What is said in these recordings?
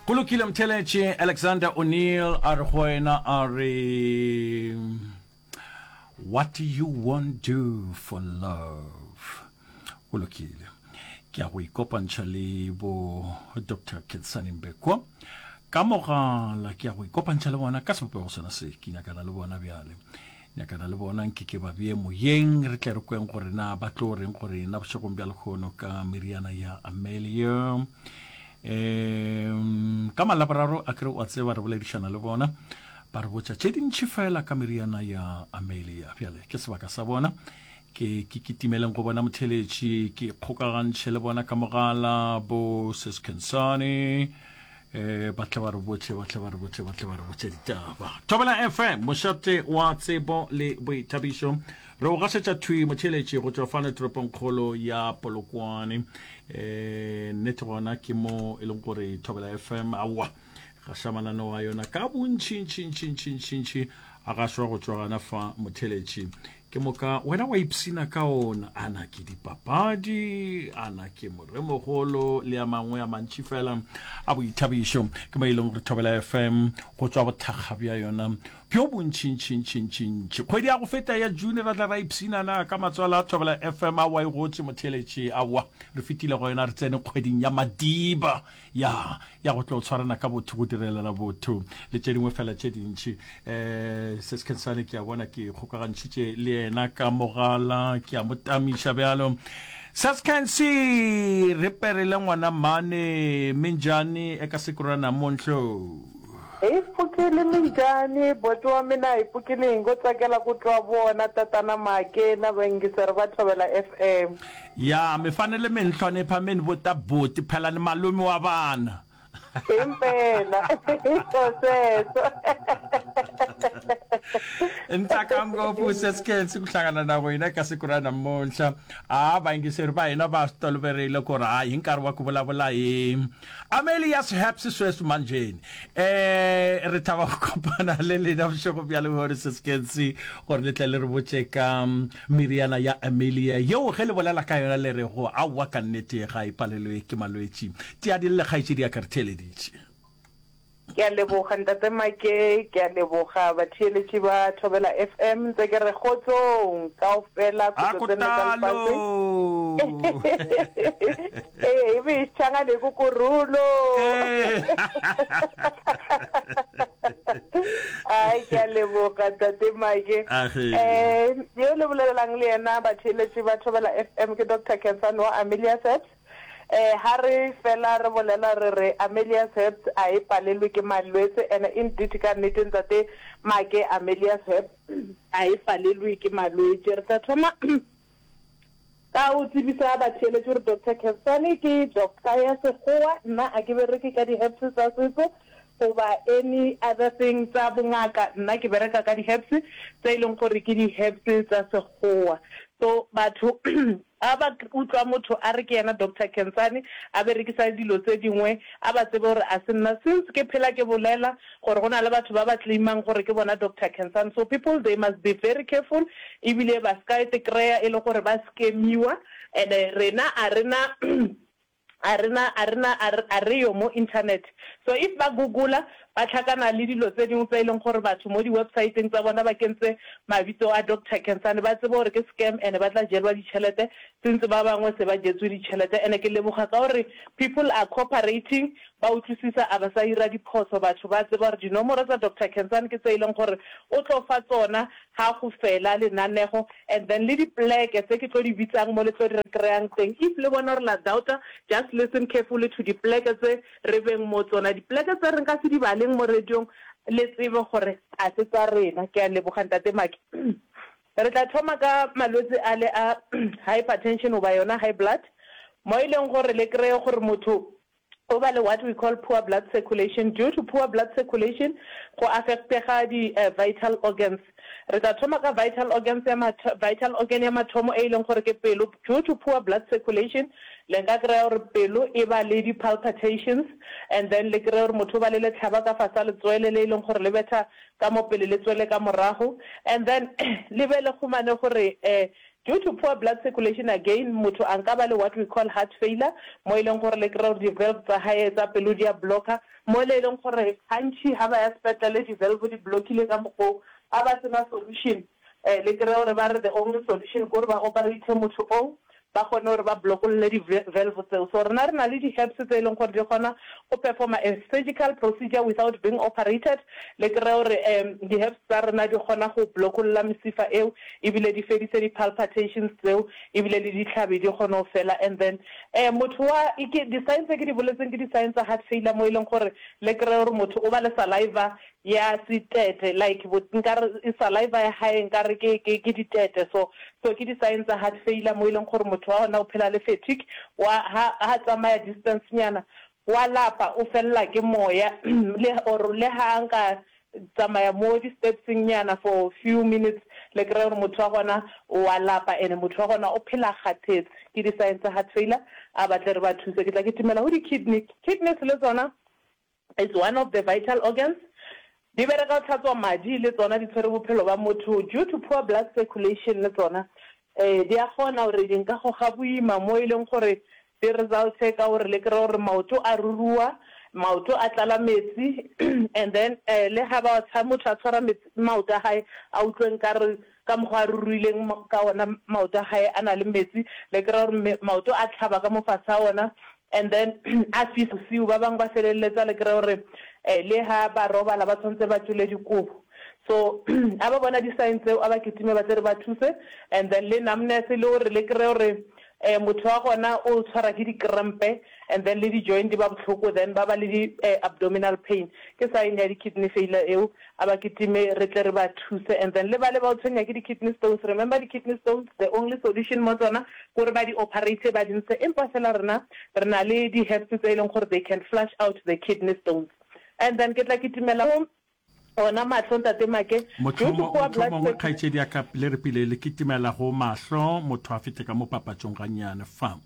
Go lokile Mtheletše, Alexander O'Neill a re go wena a re What you won't do for love. Go lokile. Ke ya go ikopantšha le bo Dr. Ketsane Mbekwa ka mogala, ke ya go ikopantšha le bona ka sebopego sona se, ke nyakana le bona bjale. Nyakana le bona nke ke ba bee moyeng, re tle re kweng gore na ba tlo reng go rena bošegong bja lehono ka meriana ya Amelia. Um ka Malaboraro a kere wa tseba re boledišana le bona, ba re botša tše dintši fela ka meriana ya Amelia. Bjale ke sebaka sa bona, ke ke kitimeleng go bona motheletši, ke kgokagantšhe le bona ka mogala, bo Sis Khensani, Eh, ba tle ba re botše, ba tle ba re botše, ba tle ba re botše ditaba. Thobela FM, mošate wa tsebo le boithabišo. Re o gašetša thwi motheeletši go tšwa fano toropongkgolo ya Polokwane. Eh, nnete gona ke mo e leng gore Thobela FM aowa gaša mananeo a yona ka bontšintšintšintšintšintši a gašwa go tšwa gana fa motheeletši. Ke moka wena wa ipshina ka ona. A na ke dipapadi, a na ke moremogolo le a mangwe a mantši fela a boithabišo. Ke mo e leng gore Thobela FM go tšwa bothakga bja yona bjo bontšintšintšintšintši. Kgwedi ya go feta ya June ra tla ra ipshina na ka matswalo a Thobela FM aowa e gotše motheeletši, aowa re fetile go yona re tsene kgweding ya Madiba. Ya, ya go tlo tshwarana ka botho, go direlana botho, le tše dingwe fela tše dintši. Um Sis Khensani, ke a bona ke kgokagantšhitše le yena ka mogala, ke a mo tamiša bjalo. Sis Khensi, re perile ngwana mane, Minjani, eka siku ra namuntlha. Hi pfukile minjhani boti wa mina hi pfukile hi ngo tsakela ku twa vona tatana Make na vayingiseri va Thobela FM. Ya, mi fanele mi ni hlonipha mi ni vuta buti, phela ni malume wa vana. Himpela, hi swo sweswo. Ni tsaka ngopfu Sesi Khensi ku hlangana na wena eka siku ra namuntlha. A vayingiseri va hina va swi toloverile ku ri hayi hi nkarhi wa ku vulavula hi Amelia's Herbs sweswi manjheni. Eh, re thaba go kopana le lena bošego bja lehono Sesi Khensi gore le tle le re botše ka Meriana ya Amelia yeo ge le bolela ka yona le rego, Aowa ka nnete ga e palelwe ke malwetši. Tia di lle kgaetšedi ya ka re theeleditše. Ke a leboga Ntate Make, ke a leboga batheeletši ba Thobela FM, ntse ke re kgotsong kaofela A khutlo tse nne tsa lefase. kotalo! Ee, e be e tšhangane ko korulo. Ee. Ai, ke a leboga Tate Make. Age. Eh, yo le bolelelang le yena batheeletši ba Thobela FM ke Doctor Khensani wa Amelia's Herbs. Eh, ha re fela re bolela re re Amelia's Herbs a e palelwe ke malwetse and indeed ka nnete Ntate Make Amelia's Herbs a e palelwe ke malwetši. Re tla thoma Ka o tsebisa batheeletši gore Doctor Khensani ke doctor ya sekgowa, nna a ke bereke ka di-herbs tsa setso goba any other thing tsa bongaka, nna ke bereka ka di-herbs tse e leng gore ke di-herbs tsa sekgowa. So batho ga ba utlwa motho a re ke yena Doctor Khensani a berekisa dilo tse dingwe a ba tsebe gore a se nna. Since ke phela ke bolela gore go na le batho ba ba claimang gore ke bona Doctor Khensani so people they must be very careful ebile ba ska te kreya e le gore ba scamiwa and rena a rena a rena a rena a reyo mo internet so if ba google-a ba tlhakana le dilo tse dingwe tse e leng gore batho mo di websiteng tsa bona ba kentse mabitso a Doctor Khensani ba tsebe gore ke scam and ba tla jelwa ditšhelete since ba bangwe se ba jetswe ditšhelete and ke leboga ka gore people are cooperating Ba utlwisisa a ba sa ira diphoso batho ba tseba gore dinomoro tsa Doctor Khensani ke tse e leng gore o tlo fa tsona ga go fela lenanego and then le dipleke tse ke tlo di bitsang mo le tlo di re kry-ang teng if le bona gore la doubta just listen carefully to dipleke tse re beng mo tsona dipleke tse re nka se di baleng mo radiong le tsebe gore a se tsa rena ke a leboga Ntate Maki Re tla thoma ka malwetse a le a hypertension goba yona high blood mo e leng gore le kry-e gore motho O ba le what we call poor blood circulation. Due to poor blood circulation, go affectega di vital organs. Re tla thoma ka vital organs ya vital organ ya mathomo e e leng gore ke pelo. Due to poor blood circulation, le nka kry-a gore pelo e ba le di palpitations and then le kry-e gore motho o ba le letlhaba ka fase ga letswele le e leng gore le betha ka mo pele le tswele ka morago and then le be le humane gore. Due to poor blood circulation again motho a nka ba le what we call heart failure mo e leng gore le kry-a gore di-valve tsa hae tsa pelo di a blocker mo le e leng gore gantši ha ba ya sepetlele di-valve di blockile ka mokgwa oo a ba sena solution le kry-a gore ba re the only solution ke gore ba operate motho oo ba kgone gore ba blokolle di-valve tseo. So rena re na le di-herbs tse e leng gore di kgona go performa a surgical procedure without being operated. Le kry-e gore di-herbs tsa rena di kgona go blokolla mesifa eo ebile di fedise di-palpitations tseo ebile le ditlhabi di kgone go fela. And then motho wa, ke di-sign tse ke di boletseng ke di-sign tsa heart failure mo e leng gore le kry-e gore motho o ba le saliva ya setete like nkare saliva ya hae nkare ke ke ke ditete so so ke di sign tsa heart failure mo e leng gore motho wa gona o phela le fatigue wa ha ha tsamaya distance nyana wa lapa o fella ke moya le or le ha nka tsamaya mo di stepseng nyana for few minutes le kry-a gore motho wa gona wa lapa ene motho wa gona o phela kgathetse ke di sign tsa heart failure a batle re ba thuse ke tla ke timela go di kidney kidneys le tsona It's one of the vital organs. Di bereka go tlhatswa madi le tsona di tshwere bophelo ba motho due to poor blood circulation le tsona eh di a kgona gore di nka goga boima mo e leng gore di resulte ka gore le kry gore maoto a rurua, maoto a tlala metsi and then eh le ga ba motho a tshwara metsi maoto a hae a utlwe nkare ka mokgwa a ruruileng ka ona maoto a gae a na le metsi, le kry-a gore maoto a tlhaba ka mo fase ga ona and then a fisa bosiu, ba bangwe ba feleletsa le kry-a gore le ha ba robala ba tshwanetse ba tšole dikobo. So a ba bona di-sign tseo a ba kitime ba tle re ba thuse and then le numbness le gore le kry-e gore motho wa gona o tshwara ke di-cramp and then le di-joint di ba bohloko then ba ba le di-abdominal pain, ke sign ya di-kidney failure eo. A ba kitime re tle re ba thuse and then le bale ba o tshwenya ke di kidney stones, remember di kidney stones the only solution mo tsona ke gore ba di operate ba di ntshe empa fela rena re na le di herbs tse e leng gore they can flush out the kidney stones and then ke tla kitimela go ona mahlo ntate Make due to poor blood Mohlomongwe kgaetšedi ya ka le re pele le kitimela go mahlo motho a fete ka mo papatšong gannyane fa.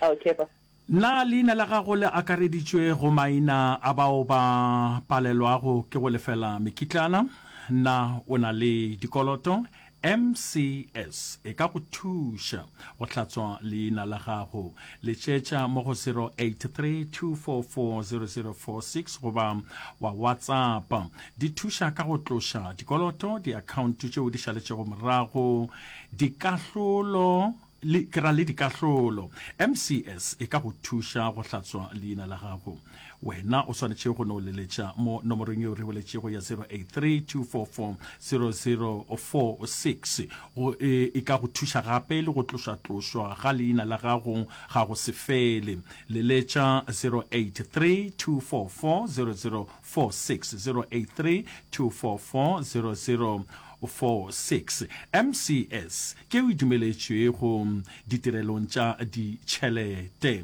Okay ba. Na leina la gago le akareditšwe go maina a bao ba palelwago ke go lefela mekitlana? Na o na le dikoloto? MCS e ka go thuša go hlatswa leina la gago. Letšetša mo go 0832440046 goba wa WhatsApp. Di thuša ka go tloša dikoloto, diakhaonto tšeo di šaletšego morago, dikahlolo, Le, ke ra le dikahlolo. MCS e ka go thuša go hlatswa leina la gago. Wena o swanetše go no leletša mo nomorong yeo re boletšego ya 0832440046. Go, e, e ka go thuša gape le go tlošatlošwa ga leina la gago ga go se fele. Leletša 0832440046, 0832440046. MCS ke yeo e dumeletšwego ditirelong tša ditšhelete.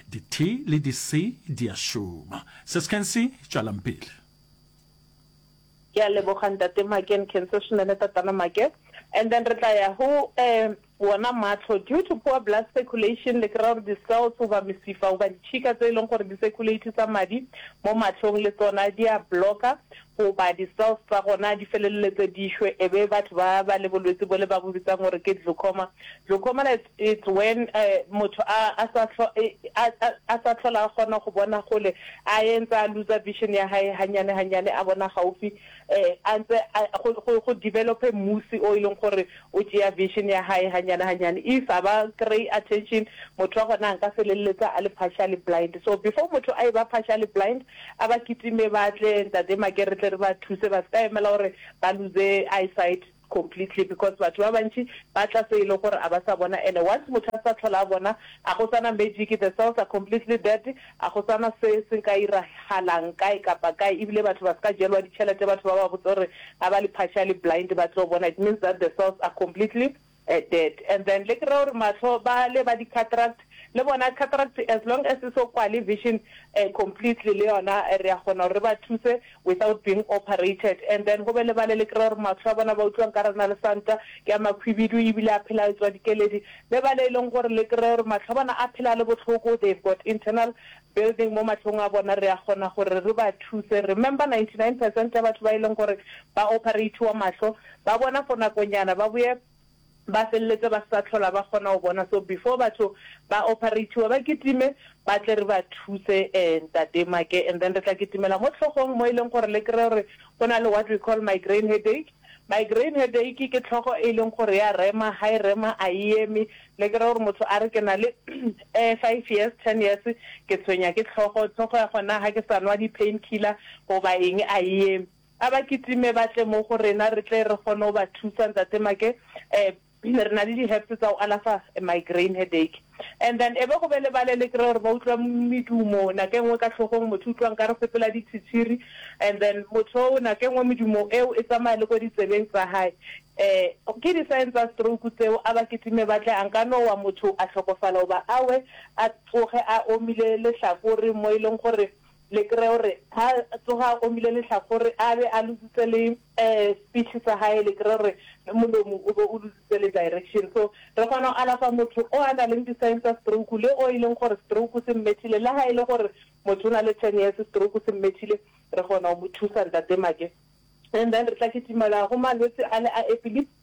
Di-T le di-C di a šoma. Seskensi, tšwelang pele. Ke a leboga Ntate Make, Nkhense swinene Tatana Make. And then re tla ya go wona mahlo. Due to poor blood circulation, le kry-a gore di-cells goba mesifa goba ditšhika tse e leng gore di circulate-isa madi mo mahlong le tsona di a blocker goba di-cells tsa gona di feleletse di shwe e be batho ba ba le bolwetse bole ba bo bitsang gore ke glaucoma. Glaucoma it's, it's when motho a, a sa a, a, a sa hlola a kgona go bona gole, a entse a loser vision ya hae hanyane hanyane, a bona gaufi a ntse a, go, go, go develope musi o e leng gore o tšea vision ya hae hanyane hanyane. If a ba kry attention, motho wa gona a nka feleletsa a le partially blind. So before motho a e ba partially blind, A ba kitime ba tle Ntate Make re tle re ba thuse ba se ka emela gore ba lose eyesight completely because batho ba bantši ba tla se e le gore a ba sa bona and once motho a sa tlhola a bona a go sana magic the cells are completely dead a go sana se se ka iragalang kae kapa kae ebile batho ba se ka jelwa ditšhelete batho ba ba botse gore a ba le partially blind ba tlo bona it means that the cells are completely dead and then le kry-a gore mahlo ba le ba di-cataract le bona cataract as long as e so kwale vision completely le yona re a kgona gore re ba thuse without being operated and then go be le bale le kry-a gore mahlo a bona ba utlwa nkare a na le santa ke a makhwibidu ebile a phela a tswa dikeledi le bale e leng gore le kry-a gore mahlo a bona a phela a le bohloko they've got internal building mo mahlong a bona re a kgona gore re ba thuse remember 99 percent ya batho ba e leng gore ba operatiwa mahlo ba bona for nakonyana ba boye. Ba feleletse ba se sa tlhola ba kgona go bona. So before batho ba operatiwa ba kitime ba tle re ba thuse Ntate Make and then re tla kitimela mo tlhogong mo e leng gore le kry-e gore go na le what we call migraine headache. Migraine headache ke tlhogo e leng gore ya rema, ha e rema a e eme. Le kry-e gore motho a re ke na le five years, ten years ke tshwenya ke tlhogo, tlhogo ya gona ha ke sa nwa di-pain killer goba eng a e eme. A ba kitime ba tle mo go rena re tle re kgone go ba thusa Ntate Make. Re na le di-herbs tsa go alafa migraine headache. And then e be go be le bale le kry-e gore ba utlwa medumo nako e nngwe ka hlogong, motho utlwa nkare sepela ditshitshiri and then motho oo nako e nngwe medumo eo e tsamaya le ko ditsebeng tsa hae. Ke di-sign tsa stroke tseo, a ba kitime ba tle, a nka no wa motho a hlokofala goba a we a tsoge a omile lehlakore mo e leng gore Le kry-e gore ha a tsoga a omile lehlakore a be a lositse le speech sa hae, le kry-e gore le molomo o be o lositse le direction. So re kgona go alafa motho o a na leng di-sign tsa stroke le o e leng gore stroke se mmethile, le ha e le gore motho o na le ten years stroke se mmethile, re kgona go mo thusa Ntate Make. And then re tla kitimela go malwetse a le a epilepsy.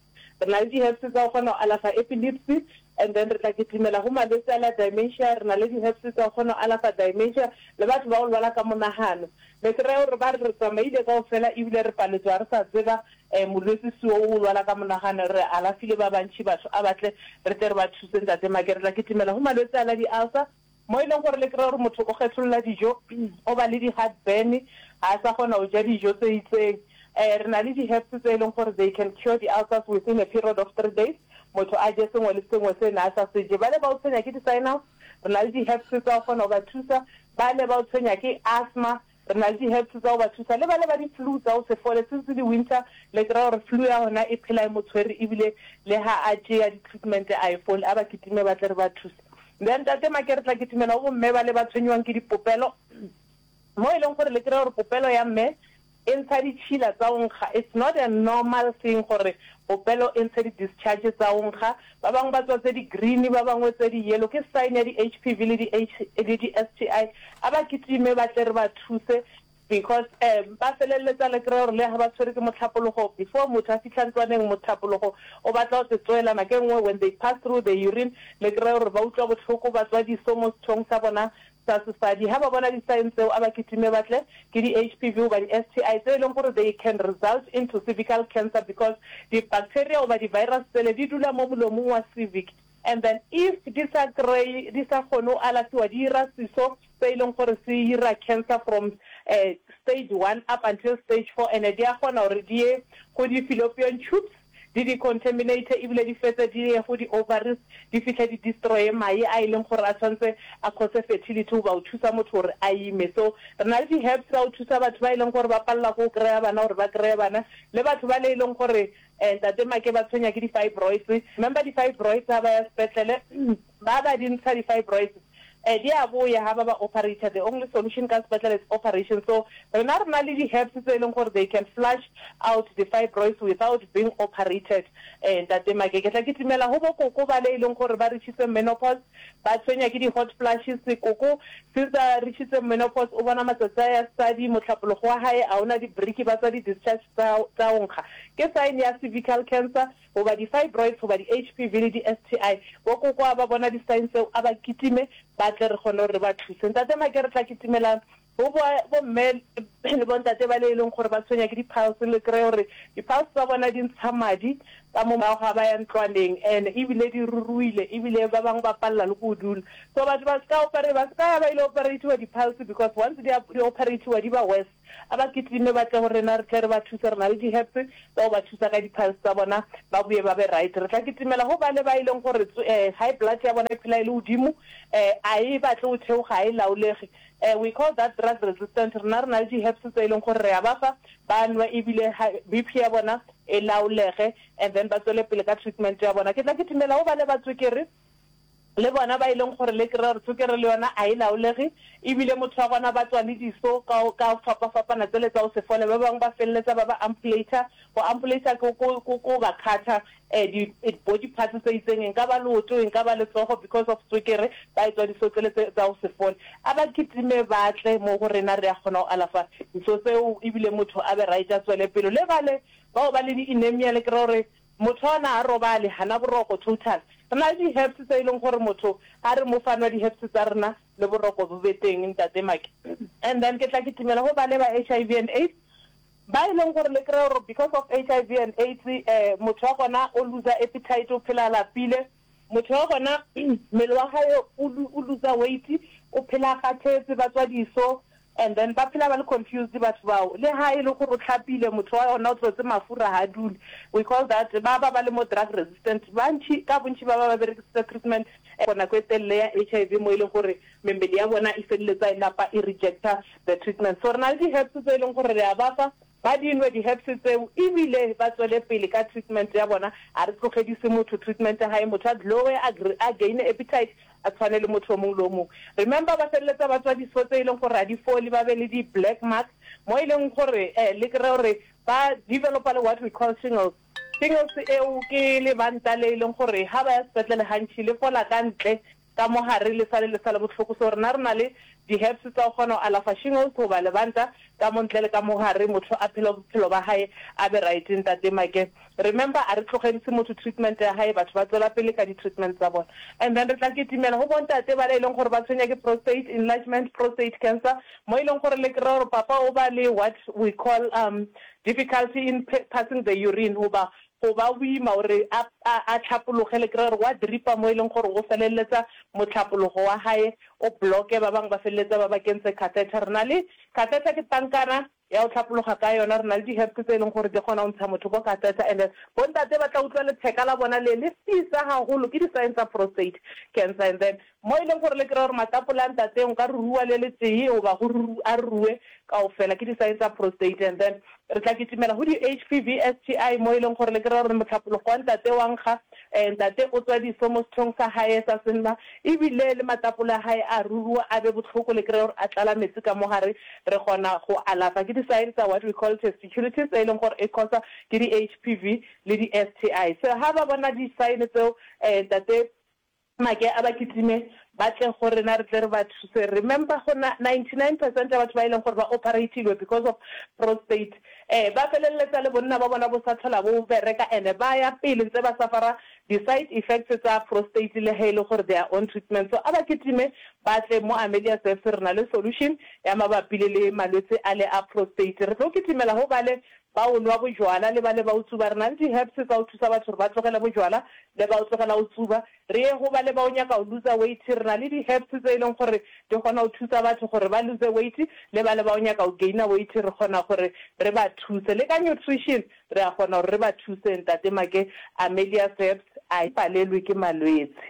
Re na le di-herbs tsa go kgona go alafa epilepsy and then re tla kitimela go malwetse a la dementia. Re na le di-herbs tsa go kgona go alafa dementia le batho ba go lwala ka monagano. Le kry-e gore ba re re tsamaile kaofela ebile re paletswe ga re sa tseba molwetse seo o lwala ka monagano. Re alafile ba bantši batho a ba tle re tle re ba thuse Ntate Make. Re tla kitimela go malwetse a la di-ulcer. Mo e leng gore le kry-a gore motho o kgetholola dijo, o ba le di-heart burn, ga a sa kgona go ja dijo tse itseng. Re na le di-herbs tse e leng gore they can cure di-ulcers within a period of 3 days, motho a je sengwe le sengwe se ne a sa se je. Bale ba o tshwenya ke di-sinus, re na le di-herbs tsa go kgona go ba thusa. Bale ba o tshwenya ke asthma, Re na le di-herbs tsa go ba thusa. Le bale ba di-flu tsa go se fole, since e le winter, le kry-a gore flu ya gona e phela e mo tshwere ebile le ha a tšea di-treatment a e fole. A ba kitime ba tle re ba thuse. Then Ntate Make re tla kitimela go bomme bale ba tshwenyiwang ke dipopelo, mo e leng gore le kry-a gore popelo ya mme e ntsha ditšhila tsa go nkga. It's not a normal thing gore popelo e ntshe di-discharge tsa go nkga. Ba bangwe ba tswa tse di green, ba bangwe tse di yellow. Ke sign ya di-H_P_V le di le di-S_T_I. A ba kitime ba tle re ba thuse because ba feleletsa le kry-a gore le ha ba tshwere ke mohlapologo, before motho a fihla ntlwaneng mohlapologo o batla go tswela. Nako e nngwe when they pass through the urine le kry-a gore ba utlwa bohloko, ba tswa diso mo sethong sa bona sa sesadi. Ha ba bona di-sign tseo a ba kitime ba tle, ke di-H_P_V goba di-S_T_I tse e leng gore they can result into cervical cancer because di-bacteria goba di-virus tsele di dula mo molomong wa cervix and then if di sa kry-e, di sa kgone go alafiwa di ira seso se e leng gore se ira cancer from stage one up until stage four and di a kgona gore di ye go di-fallopian tubes di di contaminate ebile di fetse di ye go di ovaries di fihle di destroye mae a e leng gore a tshwanetse a cause fertility goba go thusa motho gore a ime. So re na le di herbs tsa go thusa batho ba e leng gore ba palelwa ke go kry-a bana gore ba kry-e bana le batho ba le e leng gore Ntate Make ba tshwenya ke di fibroids. Remember di fibroids ha ba ya sepetlele ba ba di ntsha di fibroids di a boya ha ba ba operator. The only solution ka sepetlele is operation. So rena re na le di herbs tse e leng gore they can flush out the fibroids without being operated. Ntate Make ke tla kitimela go bo koko bale e leng gore ba reachitse menopause ba tshwenya ke di hot flashes. Koko since a reachitse menopause o bona matsatsi a ya sesadi, mohlapologo wa hae a ona di brick ba tswa di discharge tsa go nkga. Ke sign ya cervical cancer goba di fibroids goba di HPV le di STI. Bo koko a ba bona di sign tseo a ba kitime ba tle re kgone gore re ba thuse. Ntate Make re tla kitimela go bo bo mme le bo ntate ba le e leng gore ba tshwenya ke di piles le kry gore di piles tsa bona di ntsha madi ka mo morago ga ba ya ntlwaneng and ebile di ruruile ebile ba bangwe ba palela le go dula. So batho ba ska operate ba ska ya ba ile operatiwa di piles because once di di operatiwa di ba worse. A ba kitime ba tle go rena re tle re ba thuse, re na le di-herbs tsa go ba thusa ka di-piles tsa bona ba boye ba be right. Re tla kitimela go bale ba e leng gore high blood ya bona e phela e le godimo, a e batle go theoga, ga e laolege. We call that drug resistant. Rena re na le di-herbs tse e leng gore re a ba fa ba nwe ebile B_P ya bona e laolege and then ba tswele pele ka treatment ya bona. Ke tla kitimela go bale ba tswekere. Le bona ba e leng gore le kry-a gore tswekere le yona a e laolege, ebile motho wa gona ba tswa le diso ka ka go fapafapana tsele tsa go se fole, ba bangwe ba feleletsa ba ba ampulator, go ampulator ke ko ko ko ba cutter di body parts tse itseng, e nka ba leoto, e nka ba letsogo because of tswekere ba etswa diso tsele tse tsa go se fole. A ba kitime ba tle mo go rena re a kgona go alafa diso tseo ebile motho a be right a tswele pele. Le bale bao ba le di-anemia le kry-a gore. Motho wa gona ga robale, ga na boroko total. Re na le di-herbs tse e leng gore motho ga re mo fa nwa di-herbs tsa rena le boroko bo be teng Ntate Make. And then ke tla kitimela go bale ba HIV and AIDS ba e leng gore le kry-e gore because of HIV and AIDS motho wa gona o loser appetite, o phela a lapile, motho wa gona mmele wa gae o loser weight, o phela a kgathetse, ba tswa diso, And then ba phela ba le confused batho bao. Le ha e le gore o hlapile, motho wa gona o tlotse mafura ha dule. We call that ba ba ba le mo drug resistant. Bantši, ka bontši ba ba ba berekisitse treatment for nako e telele ya HIV mo e leng gore mebele ya bona e feleletsa e napa e rejecta the treatment. So re na le di-herbs tse e leng gore re a ba fa, ba di nwe di-herbs tseo ebile ba tswele pele ka treatment ya bona. A re tlogedise motho treatment ya hae, motho a glowe, a a gaine appetite, a tshwane le motho o mongwe le o mongwe. Remember ba feleletsa ba tswa diso tse e leng gore ga di fole, ba be le di black mark mo e leng gore le kry-e gore ba developa le what we call shingles. Shingles eo ke lebanta le e leng gore ga ba ya sepetlele gantši le fola ka ntle, ka mo gare le sale le sa le bohloko. So rena re na le di herbs tsa go kgona go alafa shingles goba lebanta ka mo ntle le ka mo gare, motho a phele bophelo ba gae a be right. Ntate Make. Remember a re tlogelise motho treatment ya hae batho ba tswela pele ka di treatment tsa bona and then re tla kitimela go bontate bale e leng gore ba tshwenya ke prostate enlargement, prostate cancer mo e leng gore le kry-a gore papa o ba le what we call um difficulty in passing the urine goba go ba boima gore a a tlhapologe le kry-a gore wa dripa mo e leng gore o feleletsa motlhapologo wa hae o blocke ba bangwe ba feleletsa ba ba kentse catheter re na le catheter ke tankana ya go hlapologa ka yona. Re na le di-herbs tse e leng gore di kgona go ntsha motho ko catheter and bontate ba tla utlwa letheka la bona le le fisa haholo, ke di-sign tsa prostate cancer. And then mo e leng gore le kry-a gore matapole a ntate nka rurua le le tee goba go a rurue kaofela, ke di-sign tsa prostate. And then re tla kitimela go di-H_P_V, S_T_I mo e leng gore le kry-a gore mohlapologo wa ntate wa nkga, ntate o tswa diso mo sethong sa hae sa senna ebile le matapole a hae a rurua a be bohloko, le kry-a gore a tlala metsi ka mo gare. Re kgona go alafa ke di-sign tsa what we call testiculitis e leng gore e cause-wa ke di-H_P_V le di-S_T_I. So ha ba bona di-sign tseo ntate Make a ba kitime ba tle go rena re tle re ba thuse. Remember go na 99 percent ya batho ba e leng gore ba operate-ilwe because of prostate ba feleletsa le bonna ba bona bo sa tlhola bo bereka and ba ya pele ntse ba suffer-a Di side effects tsa prostate le ge e le gore they are on treatment. So a ba kitime ba tle mo Amelia Surfs re na le solution ya mabapi le le malwetse a le a prostate. Re tlo kitimela go bale ba o nwa bojwala le bale ba o tsuba. Re na le di herbs tsa go thusa batho gore ba tlogele bojwala le ba o tlogela go tsuba. Re ye go bale ba o nyaka go loser weight re na le di herbs tse e leng gore di kgona go thusa batho gore ba lose weight le bale ba o nyaka go gainer weight re kgona gore re ba thuse. Le ka nutrition Re a kgona gore re ba thuse, Ntate Make. Amelia Serbs a e palelwe ke malwetse.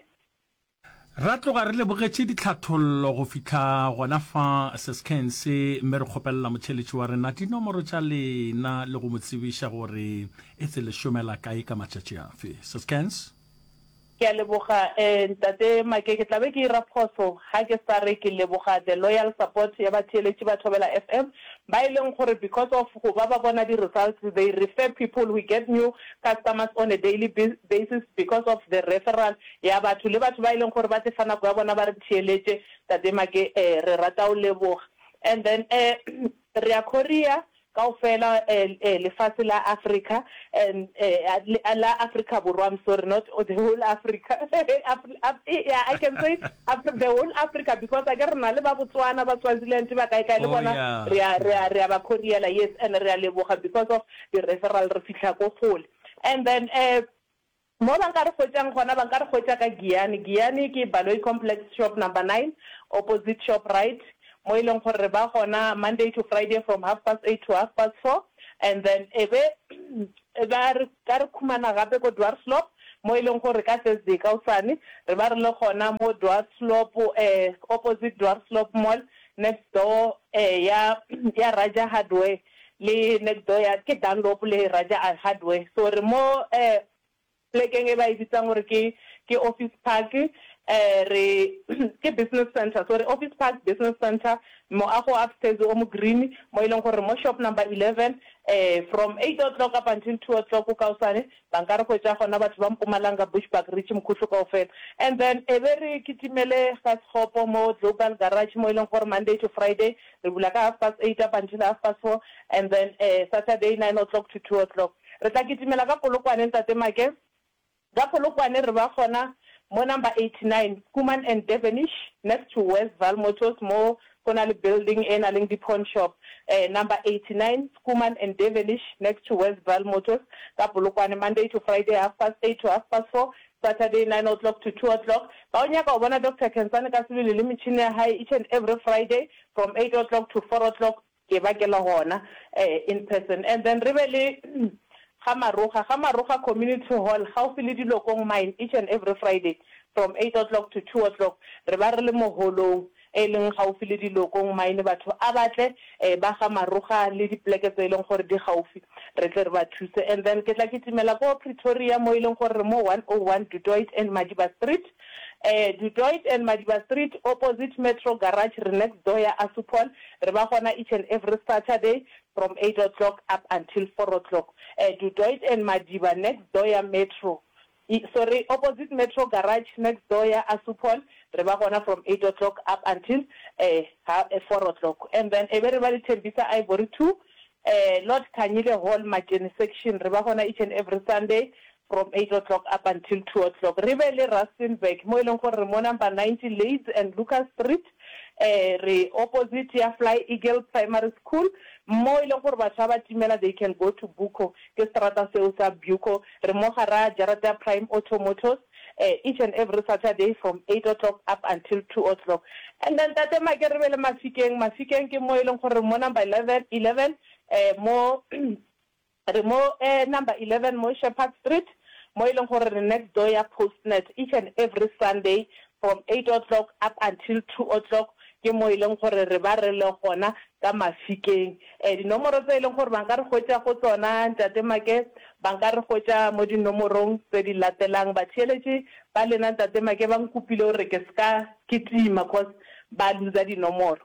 Ra tloga re lebogetše ditlhathollo go fihla gona fa Sescans mme re kgopelela motheeletši wa rena dinomoro tša lena le go mo tsebiša gore etse le šomela kae ka matšatši afe. Sescans. Ke a leboga Ntate Make, ke tla be ke ira phoso ga ke sa re ke leboga the loyal support ya batheeletši ba Thobela FM ba e leng gore because of go ba ba bona di results they refer people, we get new customers on a daily basis because of the referral ya batho le batho ba e leng gore ba te fa nako ya bona ba re theeletše Ntate Make re rata go leboga and then re a courier Kaofela lefase la Afrika and la Afrika Borwa, I'm sorry, not the whole Africa. Yeah, I can say the whole Africa because akere re na le ba Botswana, ba Swaziland, ba kae kae le Oh bona yeah. re a re a re a ba couriela, yes, and re a leboga because of the referral re fihla ko kgole. And then Mo ba nka re hwetšang gona, ba nka re hwetša ka Giyani. Giyani ke Baloyi Complex shop number 9, opposite Shoprite, mo e leng gore re ba gona Monday to Friday from half past 8 to half past 4. And then e be ba re ka re khumana gape ko Dwarsloop, mo e leng gore ka Thursday kaosane re ba re le gona mo Dwarsloop, opposite Dwarsloop Mall, next door ya ya Raja Hardware. Le next door ya ke Dunlop le Raja Hardware. So re mo plekeng e ba e bitsang gore ke ke Office Park, re ke business center, sorry, Office Park Business Center, moago wa upstairs o mo green, mo e leng gore mo shop number 11, from 8 o'clock up until 2 o'clock kaosane Ba nka re hwetša gona batho ba Mpumalanga, Bushbuckridge, Mkhuhlu kaofela. And then e be re kitimele ga Sekgopo mo Global Garage mo e leng gore Monday to Friday re bula ka half past 8 up until half past 4 and then Saturday 9 o'clock to 2 o'clock. Re tla kitimela ka Polokwane Ntate Make. Ka Polokwane re ba gona mo number 89 Schoeman and Devenish next to West Vaal Motors mo go na le building e na leng di pawn shop. Number 89 Schoeman and Devenish next to West Vaal Motors ka Polokwane Monday to Friday half past eight to half past four, Saturday nine o'clock to two o'clock. Ba o nyaka go bona Doctor Khensani ka sebele le metšhini ya hae each and every Friday from eight o'clock to four o'clock. Ke ba ke le gona in person. And then re be le Ga Maroga, Ga Maroga Community Hall gaufi le Dilokong Mine each and every Friday from eight o'clock to two o'clock. Re ba re le mo holong e leng gaufi le Dilokong Mine, batho a ba tle ba Ga Maroga le dipoleke tse e leng gore di gaufi re tle re ba thuse. And then ke tla kitimela ko Pretoria mo e leng gore re mo 101 Du Toit and Madiba Street. Du Toit and Madiba Street opposite Metro Garage re next door ya Assupol. Re ba gona each and every Saturday from eight o'clock up until four o'clock. Du Toit and Madiba next door ya Metro, sorry, opposite Metro Garage next door ya Assupol, re ba gona from eight o'clock up until four o'clock. And then e be re ba le Tembisa Ivory 2, Lord Khanyile Hall, Matjeni section, re ba gona each and every Sunday from eight o'clock up until two o'clock. Re be le Rustenburg mo e leng gore re mo number 90 Leeds and Lucas Street, re opposite ya Fly Eagle Primary School, mo e leng gore batho ba ba timela they can go to Buco, ke seterata seo sa Buco. Re mo gara jarata ya Prime Auto Motors each and every Saturday from eight o'clock up until two o'clock. And then Tate Make re be le Mafikeng, Mafikeng ke mo e leng gore re mo number 11, 11 mo Re mo number 11 mo Shepherd Street, mo e leng gore re next door ya Postnet each and every Sunday from eight o'clock up until two o'clock ke mo e leng gore re ba re le gona ka Mafikeng. Dinomoro tse e leng gore ba nka re hwetša go tsona Ntate Make, ba nka re hwetša mo dinomorong tse di latelang. Batheeletši ba lena Ntate Make ba nkopile gore ke se ka kitima cause ba loser dinomoro.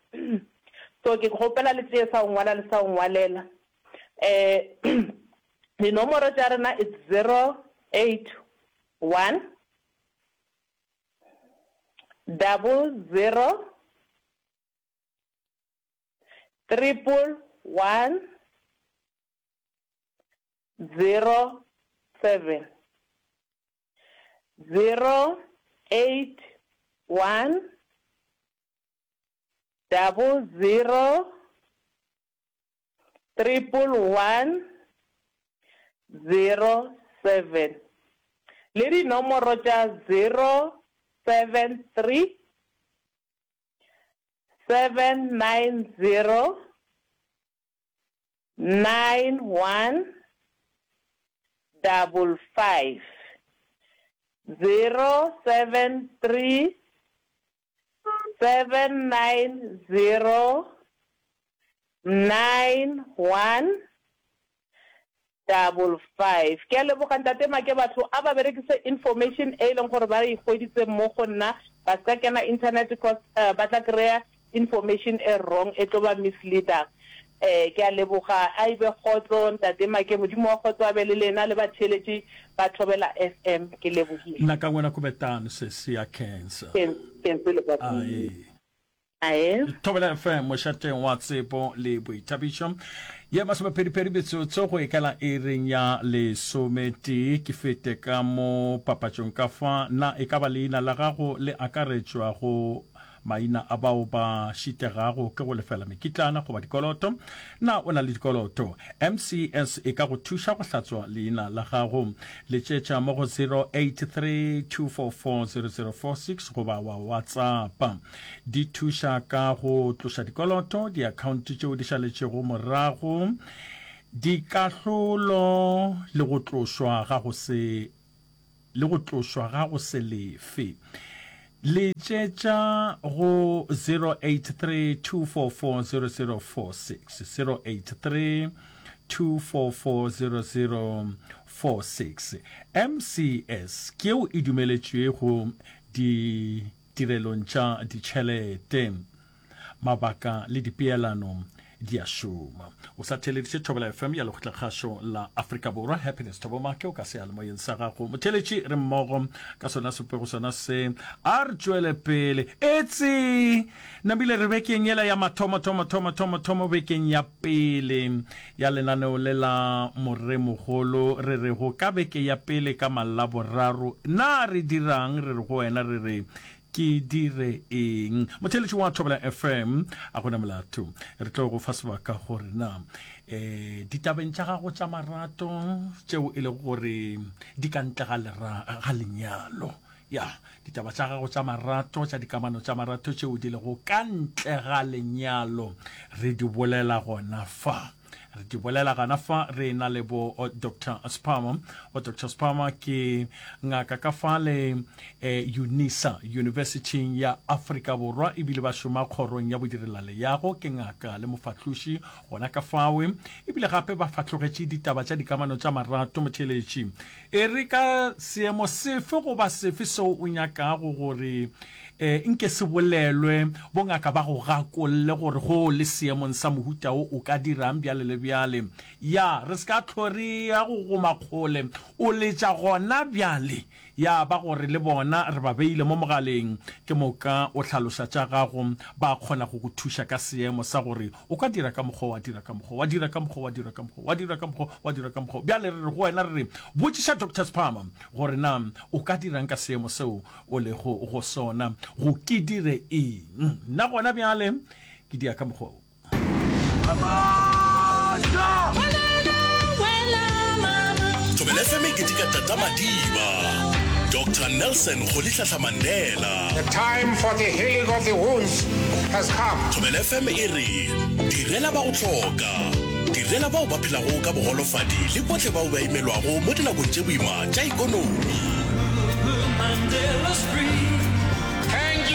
So ke kgopela le tšee sa go ngwala le sa go ngwalela. Um dinomoro tša rena it's 081 double zero triple one zero seven 081 double zero triple one zero seven le dinomoro tša 073 790 91 double five 073 790 9 1 double five. Ke a leboga Ntate Make batho a ba berekise information e e leng gore ba e hweditse mo go nna ba ska kena internet cause ba tla kry-a information e wrong e tlo ba misleadang. Ke a leboga a e be kgotso Ntate Make Modimo wa kgotso a be le lena le batheeletši ba Thobela FM ke lebogile. Nna ka ngwena Kubetane sesi ya cancer. Cancer le ka Ae. Ae. Thobela FM mošateng wa tsebo le boithabišo ye masomepedipedi metsotso go ikela iring ya lesometee. Ke fete ka mo papatšong ka fa. Na e ka ba leina la gago le akaretšwa go maina a bao ba šitegago ke go lefela mekitlana goba dikoloto? Na o na le dikoloto? MCS e ka go thuša go hlatswa leina la gago. Letšetša mo go 0832440046 goba wa WhatsAppa. Di thuša ka go tloša dikoloto, diakhaonte tšeo di šaletšego morago, dikahlolo le go tlošwa ga go se le go tlošwa ga go se lefe. Letšetša go 0832440046, 0832440046. MCS ke yeo e dumeletšwego ditirelong tša ditšhelete. Mabaka le dipeelano. Di a šoma. O sa theeleditše Thobela FM ya Lekgotlakgašo la Afrika Borwa. Happiness Thobo Make o ka seyalemoyeng sa gago. Motheeletši re mmogo ka sona sepego sona se. A re tšwele pele. Etse! Namile re bekeng yela ya mathomo thomo thomo thomo thomo bekeng ya pele ya lenaneo le la Moremogolo re rego ka beke ya pele ka Malaboraro na re dirang re re go wena re re Ke dire eng? Motheeletši wa Thobela FM, a gona molato. Re tlo go fa sebaka gore na eh ditabeng tša gago tša marato tšeo e lego gore di ka ntle ga lera ga lenyalo. Ya, ditaba tša gago tša marato tša dikamano tša marato tšeo di lego ka ntle ga lenyalo re di bolela gona fa. Re di bolela gana fa re na le bo Doctor Spama. Bo Doctor Spama ke ngaka ka fa le eh, UNISA, University ya Afrika Borwa, ebile ba šoma kgorong ya bodirelaleago. Ke ngaka le mofahloši gona ka fawe, ebile gape ba fahlogetše ditaba tša dikamano tša marato. Motheeletši, e re ka seemo sefe goba sefe seo o nyakago gore E, nke se bolelwe, bongaka ba go gakolle gore go o le seemong sa mohuta wo o ka dirang bjale le bjale. Ya, re se ka hlwe re ya go goma kgole, o letša gona bjale. Ya ba gore le bona re ba beile mo mogaleng, ke moka o hlaloša tša gago, ba kgona go go thuša ka seemo sa gore o ka dira ka mokgwa, wa dira ka mokgwa, wa dira ka mokgwa, wa dira ka mokgwa, wa dira ka mokgwa, wa dira ka mokgwa. Bjale re re go wena re re, botšiša Doctor Sphama gore na o ka dirang ka seemo seo o lego go sona, go ke dire eng? Nna gona bjale ke dia ka mokgwa wo. Thobela FM e keteka Tata Madiba, Doctor Nelson Rolihlahla Mandela. The time for the healing of the wounds has come. Thobela FM e re direla ba go hloka, direla bao ba phelago ka bogolofadi le bohle bao ba imelwago mo dinakong tše boima tša ikonomi. Mandela's free.